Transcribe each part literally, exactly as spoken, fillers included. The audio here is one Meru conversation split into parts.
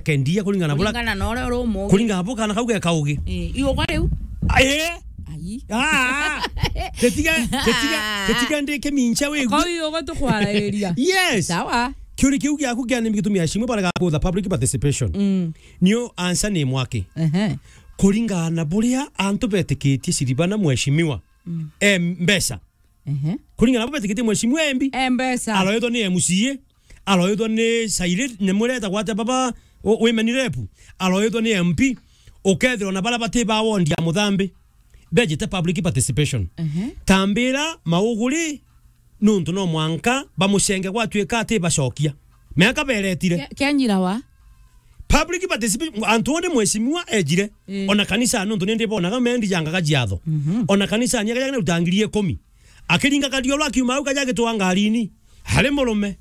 kendia kuringana na bura. Kuringana na uria uri umugi. Kuringana na bura kana kau geka ugi. Eh, iuga riu? Eh? Ai. Ah, ah. Tetiga, tetiga, tetiga ndike mincha we. Kau iuga tukwarairia. Yes. Sawa. Kiuri kiu giaku kia nimi gitumi ya cimu barega kutha public participation. Mm. Niyo answer ni mwaki. Ehe. Kuringana na buria antu betikitie Siribana mheshimiwa. Mm. Eh, mbeca. Ehe. Kuringana na bo betikitie mheshimiwa M P. Eh, mbeca. Aroitwa ni M C A, aroitwa ni Saire, ni mureta gwate baba, o-, women rep, aroitwa ni M P, ukethirwa na bara bati ba ward ya Muthambi. Bejite public participation. Ehe. Tambira mauguri, nuntu no mwanka bamucenge gwatuika ati bacokia. Miaka beretire. Ke-, kenyira wa? Public participation, antu onde mheshimiwa ejire. Eh. Ona kanisa nuntu nindi bonaga mendi yangaga jiatho. Mhm. Ona kanisa ni akaja na utangiri ikumi. Akiringa kariolo akiuma au kaja gitwa ngarini. Hari murume.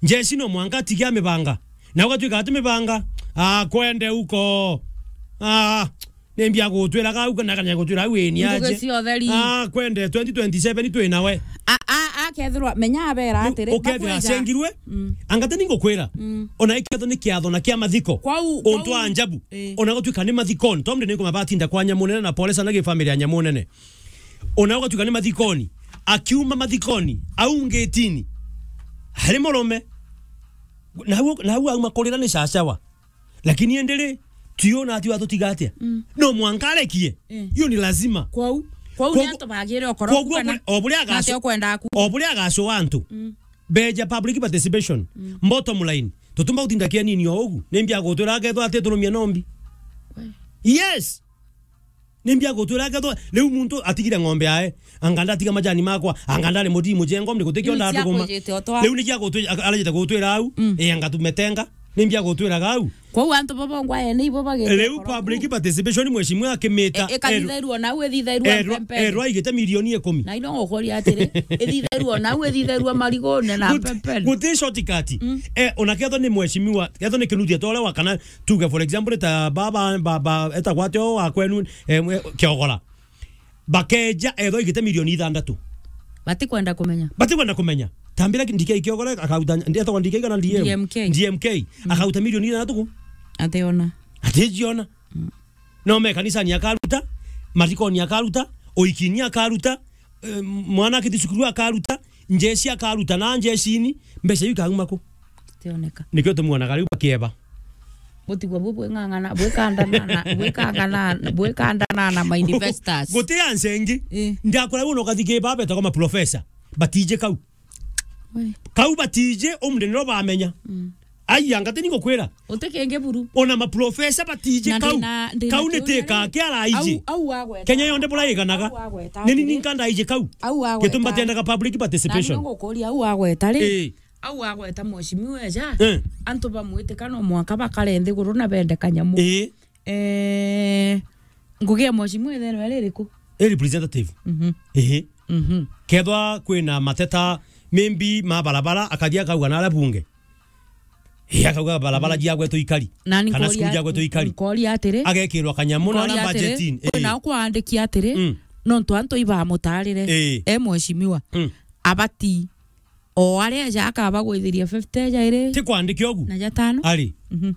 Njeci no mwanka atigia mibanga. Na ugatuika ati mibanga. Ah, kwende uko. Ah, ni mbia gutwiraga au kana kanya gutwira au ni aje. Ngugi cia utheri. Ah, kwende twenty twenty-seven twi nawe. A, a, akethirwa, menya abera atiri, ukethira acengirwe. Mm. Angate ningukwira. Mm. Ona iketho ni kiatho na kia mathiko. Kwau, untu kwau. Anjabu. Eh. Ona gutuika ni mathikoni. Tomde ni kuma batinda kwa Nyamunene na pole sana gi family ya Nyamunene. Ona gutuika ni mathikoni. Akiuma mathikoni, au ngetini. Hari murume. Na au, na au auma kurira ni cacawa. Lakini indi ri, tio na ati watutiga atia? Mm. No mwanka arekie. Eh. Iyo ni lazima. Kwou, kwou ni antu bagire okoro koguo kana o buria agacu-, ati okwenda aku. O buria agacu antu. Mm. Beja public participation. Mm. Bottom line. Tutumba gutinda kia nini o ugu. Ni mbia gutwira akethwa ati turumia nombi. We. Yes. Ni mbia gutwira akethwa. Riu muntu atigire ng'ombe yae. Anga ndatiga majani makwa, anga ndari mutii mujengo, mri gutikio ndatuguma. Riu ni cia kujite o twa. Riu ni cia gutwi-, aka-, arajite gutwira au, mm, eh, anga tumetenga, ni mbia gutwiraga au. Kwou antu baba ngwaye ni ibo bagite. Riu public participation mheshimiwa akimita. E, ikathithairua nau, ithithairua erwa, mpempeni. Erwa igite milioni ikumi. Na ino ngukuria atiri, ithithairua nau, ithithairua marigune na mpempeni. Guti shortcut. Mm. Eh, ona ketho ni mheshimiwa, ketho ni kinuthia tore wa kana tuge for example ta baba, baba, eta gwate o wa kwenu, eh, mwe-, Kiogora. Bakeja ethwa igite milioni ithandatu. Batikwenda kumenya. Batikwenda kumenya. Tambira ndike ikiogora akauta, etagwa ndike kana D M? D M K. D M K. Mm. Akauta milioni ithandatu ku? Ationa. Atijiona. Mm. No me kanisani akaruta, mathikoni akaruta, oikini akaruta, eh, mwana akiti cukuru akaruta, njeci akaruta na njecini, mbeca iu ikauma ku? Tioneka. Nikio tumuonaga riu bakieba. Butigwa bu bwing'ang'ana, bwikandana na, bwikangana, bwikandana na ma investors. Guti ansengi. Eh. Ndakora uno kathiki baba betagwa ma professor. Batije kau. We. Kau batije umde niro bamenya. Mm. Ai, anga tini ngukwira. Uti kingi buru. Ona ma professor batije kau. Kau ni tika kia raiji. Au, au agweta. Kenya yonde bura iganaga. Au agweta. Nini ninka ndaije kau. Au agweta. Gitumba tendaga public participation. Na ngukuria au agweta ri. Eh. Au agweta mheshimiwa eja, eh, antu bamwitika no mwanka bakare nthiguru na bende kanyamu. Ii. Eh, ngugi ya mheshimiwa itheno iri iriku? I representative. Mhm. Ii. Mhm. Kethwa kwina mateta maybe ma barabara, akathia akauga na aria bunge. Ii, akauga barabara, mhm, jiagwetwo ikari. Nani kana nkoria, cukuru jiagwetwo ikari. Nkoria atiri, agekirwa kanyamu na nkoria aria atiri, budgeting. Ii. Kwina ukwaandiki atiri, mm, nontu antu ibamutarire. Ii. E mheshimiwa. Mm. Abati O aria eja akaba gwithiria fifty eja iri. Ti kwandike ugu? Na jatano. Ari. Mhm.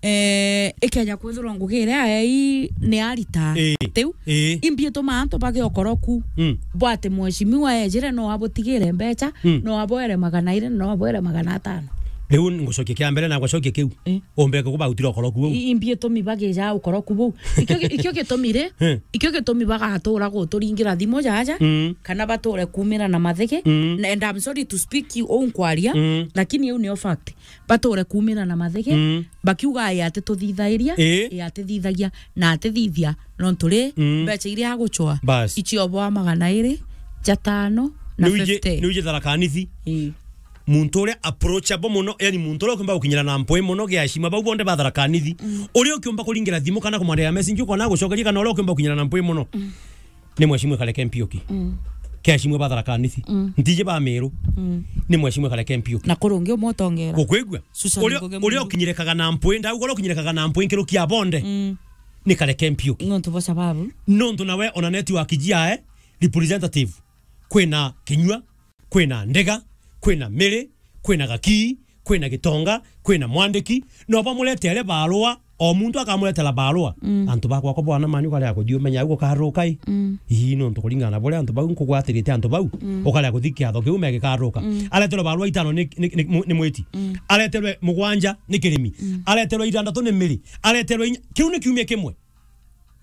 Eh, ikeja kwithirwa ngugi iria aei ni arita. Ii. Tiu? Ii. Imbi ituma antu bage okoroku. Mm. Bwati mheshimiwa ejire no abutigire mbecha, mm, no aboere magana iri, no aboere magana atano. Riu ngucokia kia mbere na gwacokia kiu. Ii. Umbe kubautira okoroku buu. I-, imbi itumi bagija okoroku buu. Ikio gi-, ikio gitumi ri, eh, ikio gitumi bagatura guturingira thimu jaja, mm, kana bature kumira na mathigi. Mm. Na, and I'm sorry to speak you, uu nkwaria, mm, lakini iu nio fact. Bature kumira na mathigi, mm, bakiuga, "Ii atituthithairia, ii, ii atithithagia, na atithithia, nontu ri, mm, mbecha iria aguchwa, bas, ichio bwa magana iri, jatano, na fifty." Niu iji Tharaka Nithi. Ii. Muntu uria approachable muno, yani muntu uria ukiumba gukinyira na mpwi muno gia heshima, bau bonthe ba Tharaka Nithi. Mm. Uria ukiumba kuringira thimu kana kumwandikira message, ukona agucokeria, kana uria ukiumba gukinyira na mpwi muno. Mm. Ni mheshimiwa Kareke Mpiuki. Mm. Kia heshimiwa ba Tharaka Nithi. Mm. Ntiji ba Meru. Mm. Ni mheshimiwa Kareke Mpiuki. Na kurungi umwe utongera. Gukwigua? Susan Ngugi Muiru. Uria ukinyirikaga na mpwi, ndauga uria ukinyirikaga na mpwi nkirukia bonde. Mm. Ni Kareke Mpiuki. Nontu bo sababu. Nontu nawe ona network jiae, representative. Kwina Kinyua, kwina Ndega, kwina Miri, kwina Gakii, kwina gitonga, kwina mwandiki, no bamuretere barua, o muntu akamuretera barua. Mm. Antu bakwa ko bwana manyu kare akuthiumenya ugo karuka i. Mm. Ii nontu kuringana na buria antu bau nkugwatirite antu bau, mm, ukare kuthi kiatho kiu megikaruka. Mm. Areterwe barua itano ni, ni, ni, ni mwiti. Mm. Areterwe mugwanja ni kirimi. Mm. Areterwe itandatu ni miri. Areterwe inya, kiu ni kiumia kimwe.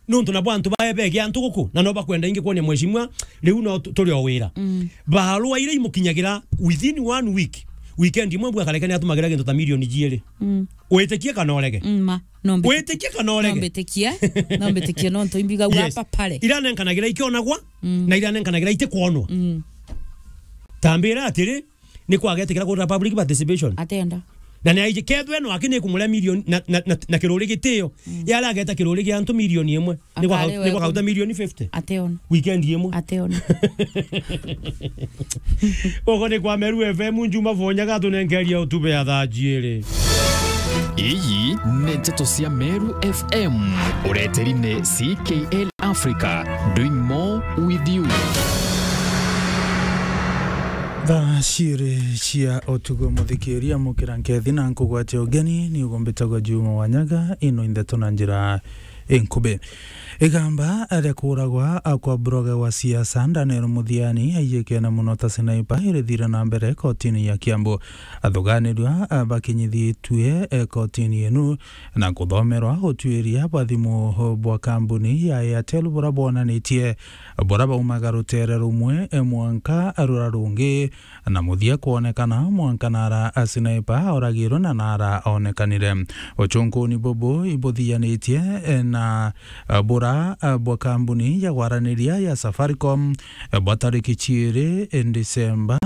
Nontu nabo antu bae bege antu guku, na no bakwenda ingi kwonia mheshimiwa, riu no tu-, turi o wira. Mm. Barua iria imukinyagira within one week, weekend imwe bwa kareke ni atumagira gintu ta milioni jiiri. Mm. Witikie kana urege? Mm, ma, no mbitikie. Witikie kana urege? No mbitikie. No mbitikie, nontu imbiga wa Yes. papa pare. Iria nenkanagira ikionagwa, mm, na iria nenkanagira itikwonwa. Mm. Tambira atiri, ni kwagetikira kurira public participation. Atenda. Na ni aiji kethwe no aki ni kumuria milioni na, na, na, na kiruri gitio. Mm. Yari ageta kiruri gia antu milioni imwe. Ni kwa, Akarewe ni kwa kauta milioni fifty. Ateona. Weekend imwe. Ateona. Ugo ni kwa Meru F M, Njuma Fonyaga atunenkeria utube ya thaa jiiri. Iyi ni nteto cia Meru F M. Ureteri ni C K L Africa, doing more with you. Thaa ciiri cia utugo, muthikiria, mukira nkethi na nkugwatia ugeni, ni ugo mbitagwa Juma Wanyaga, ino i ndeto na njira inkubi. Igamba ria kuuragwa kwa broga wa siasa Daniel Muthiani, aiyikene muno ta sniper, irithire na mbere kotini ya Kiambu. Athuganirua bakinyithitue kotini inu na kuthomerwa utuiria bwa thimu bwa kambuni ya Airtel, bura bwonanitie bura baumaga rutere rumwe mwanka rura rungi, na muthia kwonekana mwanka nara sniper auragirwe na nara onekanire. Uchunkuni bubu ibuthianitie na bura bwa kambuni ya gwaraniria ya Safaricom bwa tariki ciiri Disemba.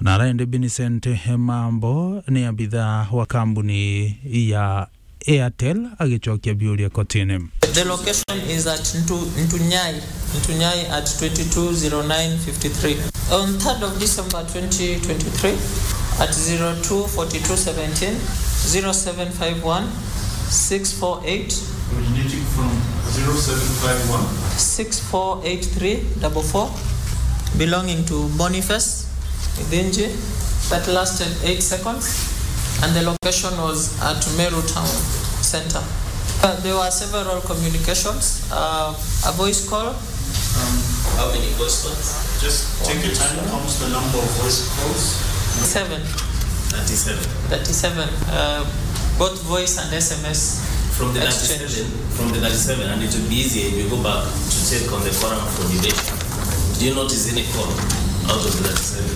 Nara indi Vincent Mambo ni abitha wa kambuni ya Airtel agicokia biuria kotini. The location is at Ntu-, Ntunyai, Ntunyai at twenty-two zero nine fifty-three. On third of December twenty twenty-three, at zero two forty-two seventeen, zero seven five one, six four eight, originating from zero seven five one, six four eight three double four, belonging to Boniface Idhinji, that lasted eight seconds, and the location was at Meru Town Center. Uh, there were several communications, uh, a voice call. Um, how many voice calls? Just take your time. Count the number of voice calls. Seven. Thirty-seven. Thirty-seven. Uh, both voice and S M S. From the exchange. Thirty-seven, from the thirty-seven, and it will be easier if you go back to check on the forum for debate. Do you notice any call out of the thirty-seven?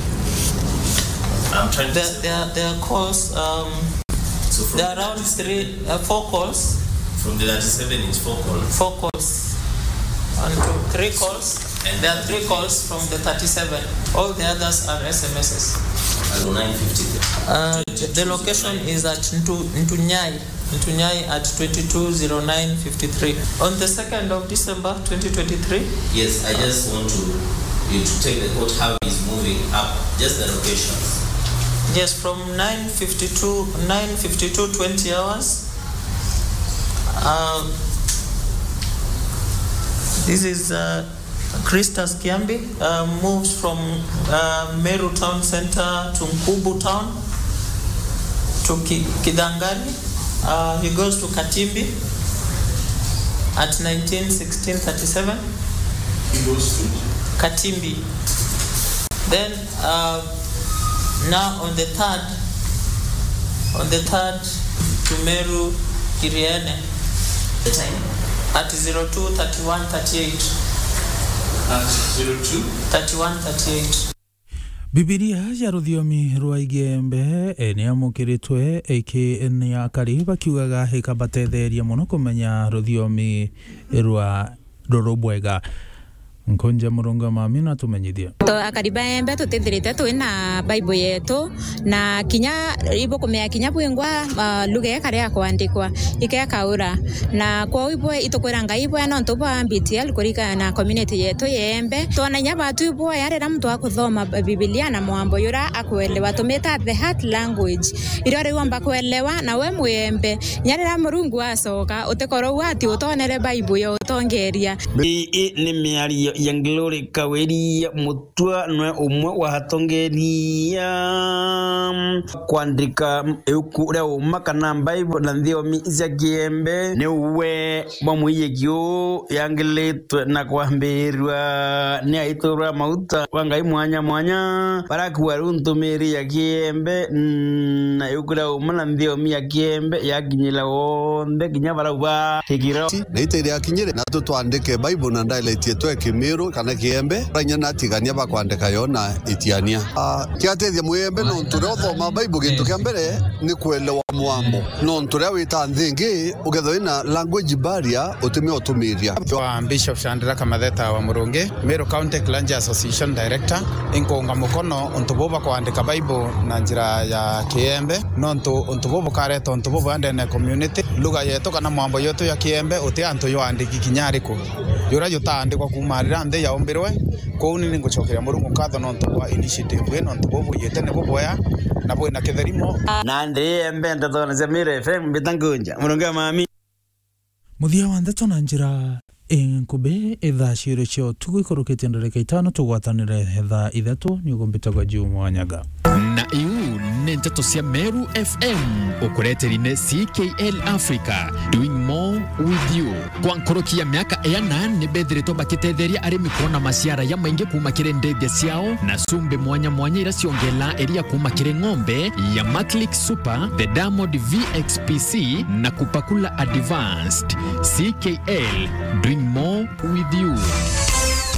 I'm trying to There, there, there are calls, um, So from there are around three, uh, four calls. From the thirty-seven, it's four calls. Four calls. One, two, three calls. And there are three calls from the thirty-seven. All the others are S M Ss. Hello, nine fifty. Uh, the location is at Ntu-, Ntunyai. Ntunyai at twenty-two zero nine fifty-three. On the second of December twenty twenty-three. Yes, I just want to, you to take the court how it's moving up. Just the locations. Yes, from nine fifty-two, nine fifty-two twenty hours. Uh, this is, uh, Christus Kiambi, uh, moves from, uh, Meru Town Center to Nkubu Town to Ki-, Kidangani. Uh, he goes to Katimbi at nineteen sixteen thirty-seven. He goes to Katimbi. Then, uh, now on the third, on the third to Meru Kiriene. The time? At zero two thirty-one thirty-eight. At zero two? Thirty-one thirty-eight. Bibilia ya ruthiomi rwa Igembe, eh, niamukiritwe iki ni akari bakiugaga ikabatetheria muno kumenya ruthiomi rwa ruru bwega. Nkunja Murungu mami na tumenyithie. To akari ba Embe tutithirite twi na Bible yetu, na kinya ibukumea kinya bwingwa, ah, lugha ikaria kwandikwa, ikekaura. Na kwou ibwe itukwira Ngai ibwe nontu bwa B T L kurika na community yetu ya Embe. Twona inya batu ibwe ya riria muntu akuthoma Bibilia na mwambo yura akuelewa, tumita the heart language. Irio riu omba kuelewa, na we Muyembe, inya riria Murungu acoka, utikorwo uu ati utonere Bible ya utongeria. Ii ni miario ya Glory Kawiri Mutua nwe umwe wa atongeria kwandika iuku ria uma kana Bible na nthiomi cia Kiembe. Ni uwe bwa mwiyiki uu yangilitwe na kwambirua ni aiturwa mauta wa Ngai mwanya mwanya, barakua riu ntumiri ya Kiembe na iuku ria uma na nthiomi ya Kiembe yakinyira wonthe kinya barauga kikiro. Na ita iria akinyire, na tutwandike Bible na dialect yetu ya Kimiru kana Kiembe, rainya na atigania bakwandika yo na itiania. Ah, kiatethia muyembe nontu ria uthoma Bible, gintu kia mbere ni kuelewa mwambo. Nontu ria wita nthi ingi, ukethwa wina language barrier, utimia utumiria. Kwa Bishop Chandra Kamatheta wa Murungi, Meru County Clergy Association Director, inkuunga mukono untu buu bwa kwandika Bible na njira ya Kiembe, nontu untu buu bukareta untu bubwega ndene ya community. Lugha yetu kana mwambo yetu ya Kiembe uti antu ywaandiki kinya ariku. Juria jutaandikwa kuuma riria nthi yaumbirwe. Kwou ni ningucokeria Murungu nkatho nontu bwa initiative ii, nontu buu bwiyite ni bubwega na bwina kitherimo. Nandi Embe ndeto na cia Meru F M, mbita nkunja. Murungu amami. Muthia wa ndeto na njira inkubi, ithaa ciiri cia utuku ikurukitie ndarika itano, tugwatanire thaa ithatu, ni ugumbite gwa Juma Wanyaga. Na iu ni nteto cia Meru F M, ukureteri ni C K L Africa, doing more with you. Kwa nkuruki ya miaka iana, ni bethiritwe bakitetheria arimi kwona maciara jamaingi kuuma kiri ndithia ciao, na cumbi mwanya mwanya iria ciongelaa iria kuuma kiri ng'ombe ya Maclick Super, the Diamond V X P C, na Kupakula Advanced. C K L, doing more with you.